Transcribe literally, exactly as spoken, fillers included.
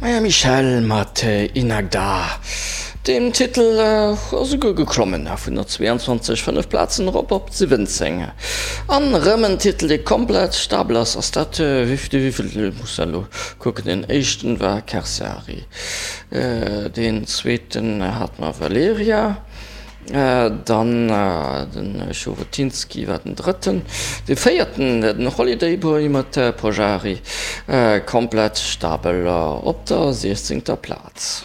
Maja Michelle mat Inagda. Deem Titel ass esouguer geklommen vun der zwee an zwanzeg fënnef Plazen erop op siwwenzéng. An erëm en Titel, dee komplett stabel ass, ass dat wéi de wéivielten, ech muss elo kucken, deen éischten war Kersari, deen zweeten hat mer Valeria, dann den Chorotinski war den drëtten, dee véierten den Holiday Boy mat Pojari, komplett stabel op der siechzéngter Plaz.